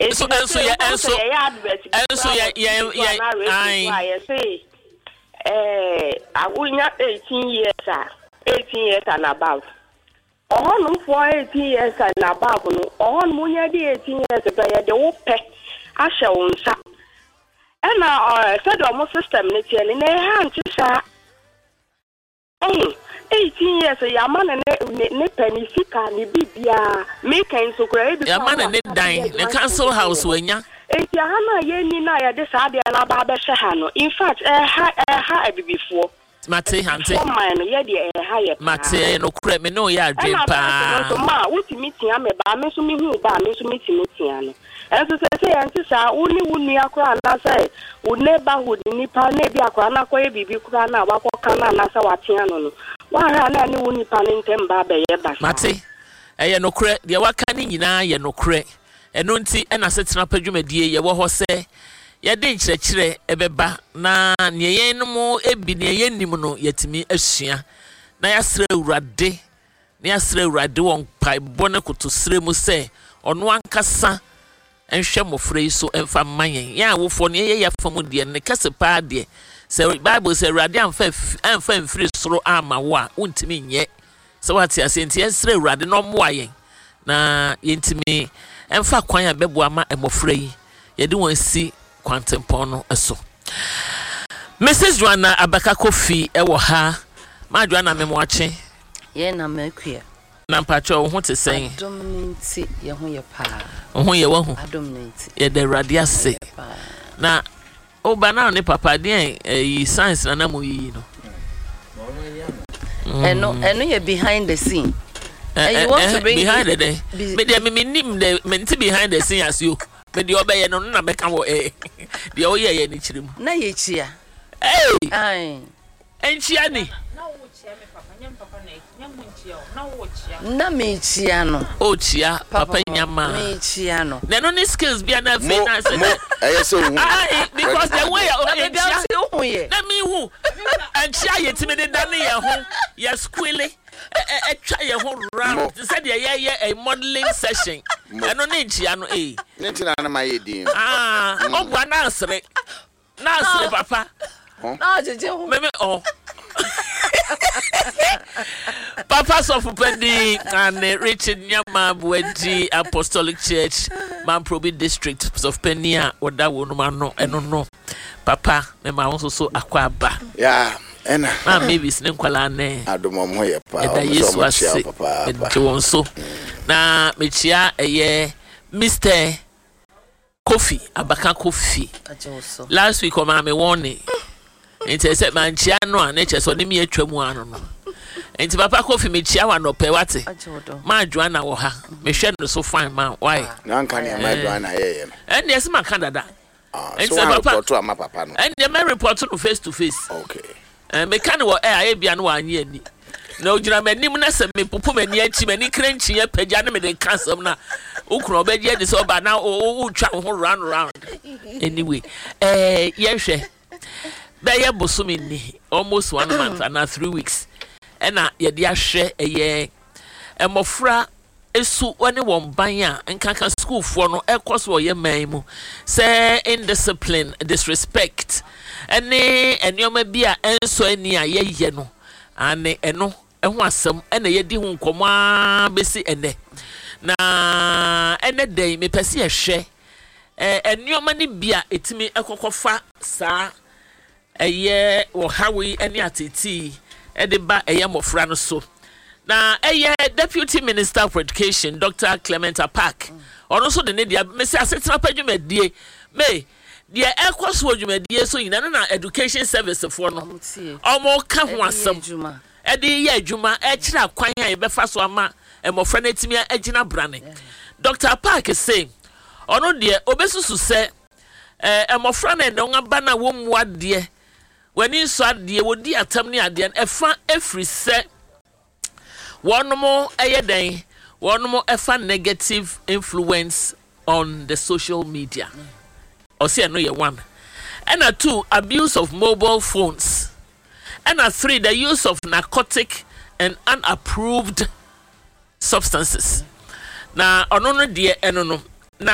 Enti Nso sɛ nso sɛ yɛ wobɛhu sɛ nso yɛyɛ advert bi nso koraa yɛ wɔ TV yɛn so yɛn anaa radio ae. so a, yɛse ɛɛ a wonya 18 years a, 18 years and above. Ɔhɔnom foɔ 18 years and above no, ɔhɔnom wonya di 18 years pɛ, yɛde wo pɛ ahyɛ wo nsa. Ɛna ɔɔ sɛdeɛ ɔmo system no teɛ no, na ɛha nte saa. Ɔho, 18 years yɛama no ne ne ne pɛ, ne sika, ne biribiara. Meka yi nso koraa ebi koraa Yɛama no no ne wastarte yɛ dan, ne adwuma council nketenkete house wɔ hɔ. wanya. Enti aha no a yɛnni no a yɛde saa adeɛ no aba abɛhyɛ ha no, in fact ɛha ɛha abibifoɔ. Mate, ante. Abibifoɔ man no, yɛ deɛ ɛha yɛ Mate, paa. ɛyɛ nokorɛ, me ne wo yɛ adwene Ɛna verse no nso, paa. ma wotumi tea me ba a, me nso mehu wo ba a, me nso metumi tea no. Nanso seesei ɛnte saa. Wo ne wo nua koraa anaasɛ wo neighborhood nipa na ebi akwadaa no akɔyɛ biribi koraa no a wakɔka no anaasɛ watea no no, woanhwɛ a na ɛne wo nipa no ntam ba abɛyɛ basaa. Mate. Ɛyɛ nokorɛ. Deɛ waka no nyinaa yɛ nokorɛ. Ɛno nti na Asetena Pa dwumadie yɛwɔ hɔ sɛ yɛde nkyerɛkyerɛ bɛba na neɛ yɛn mo bi neɛ yɛnnim no yɛatumi asua na yɛasrɛ Awurade na yɛasrɛ Awurade wɔ mpaebɔ ne kotosrɛ mu sɛ ɔno ankasa nhwɛ mmɔfra yi so mfa mma yɛn. Yɛn awofoɔ no, yɛyɛ yɛn afa mu deɛ, ne kɛse paa deɛ, sɛ Bible sɛ Awurade amfa amfa mfiri soro amma wo a, wontumi nyɛ. Sɛ wate aseɛ nti, yɛnsrɛ Awurade na ɔmmoa yɛn na yɛntumi mfa kwan a ɛbɛboa ma mmɔfra yi yɛde wɔn asi kwantempɔn no so. Mrs. Joanna Abaka Kofi wɔ ha. Ma Joanna memoakye. Yɛn na makua. Na mpakyɛw wo ho te sɛn? Adom no nti yɛ ho yɛ paa. Wo ho yɛ wahu? Adom no nti. Yɛda Awurade ase. Na wo ba na ne papa deɛn ɛyi science na na mo yiyi no? Ɛno ɛno yɛ behind the scene. And you want to bring behind the dɛn? Me deɛ me me nim dɛ me nte behind the scene ase o. Me deɛ ɔbɛyɛ no no na mɛka wɔ ɛɛ deɛ ɔyɛ yɛ ne kyerɛ mu. Na yɛ kyia. Hey! Aye. Nkyia ni. Na mekyia no. O kyia papa nyama. Mekyia no. Na ɛno ne skills bi a na afei na sɛ mo ɛyɛ sɛ ohu. Ayi because the way a Na baabi a nkyia ɔte ohu yɛ. na mi hu nkyia yɛ timi de da ne yɛn ho yɛ squealy ɛtwa yɛn ho round te sɛ deɛ yɛyɛ a modeling session ɛno ne nkyia no ee. Ne nti na na ma yɛ din. Ah ɔbua na asere. Nurse ne papa. Na ɔgyegye ho. Meme ɔ. Papa sɔfo panin ane Richard Nyama Boadi Apostolic Church Mamprobi District sɔfo panin a wɔda wɔn ano ɛno no papa mema wo nso so akɔ aba. Ya ɛna. Maa Mavis ne nkwadaa ne. Adom wɔn ho yɛ paa. Ɛda Yesu ase. Ɛgye wɔn so. Na mekyia ɛyɛ Mr. Kofi Abaka Kofi last week ɔmaa me warning nti ɛsɛ mankyia no a na kyerɛ sɛ ɔne me atwa mu ano no nti papa Kofi mekyia wa nɔpɛ wate maa Joanna wɔ ha mehwɛ no so fine ma why na nka nea maa Joanna yɛyɛ no ɛndeɛ sɛ maka dada ah, nti sɛ papa ama papa no ɛndeɛ mɛ report no face to face okay Eh, meka no wɔ air a ebia na wannye anni. Na ogyina m'anim na sɛ mepopo m'ani akyi, m'ani krenkyi apagya ne mede ka asɛm no a, wo kunu ɔbɛgye adi sɛ ɔba na wotwa wo ho round round. Anyway, eh, yɛnhwɛ. Bɛyɛ bosome ni, almost one month anaa 3 weeks, ɛna yɛde ahwɛ ɛyɛ mmɔfra su ne wɔn ban a nkanka sukuufoɔ no ɛkɔ so wɔ yɛn man yi mu sɛ indiscipline, disrespect ne nneɛma bi a ɛnsɔ ani a yɛyɛ no ane ɛno ɛho asɛm ɛna yɛdi ho nkɔmmɔ ara bɛsi ɛnɛ. Na ɛnɛ dɛn mepɛ sɛ yɛhwɛ nneɛma no bi a ɛtumi ɛkɔkɔfa saa ɛyɛ ɔhaw yi ne ateetee yi de ba ɛyɛ mmɔfra no so. Na ɛyɛ Deputy Minister of Education, Doctor Clement Apaak, ɔno nso de ne deɛ mesi asetena pa dwumadie me deɛ ɛkɔ so wɔ dwumadie so nyinaa no na Education Service foɔ no wɔn ka ho asɛm ɛde yɛ adwuma ɛkyerɛ akwan a yɛbɛfa so ama mmɔfra no atumi agyina brane. Doctor Apaak se ɔno deɛ ɔbɛsusu sɛ Mmɔfra no ɛnɛ wɔn aba no a wɔmmu adeɛ, wɔn ani nsɔ adeɛ, wɔdi atam ne adeɛ no, ɛfa ɛfiri sɛ wɔnom ɛyɛ dɛn, wɔnom ɛfa negative influence on the social media. Ɔsɛ ɛno yɛ one. Ɛna two, abuse of mobile phones. Ɛna three, the use of narcotic and unapproved substances. Na ɔno no deɛ ɛno no. Na.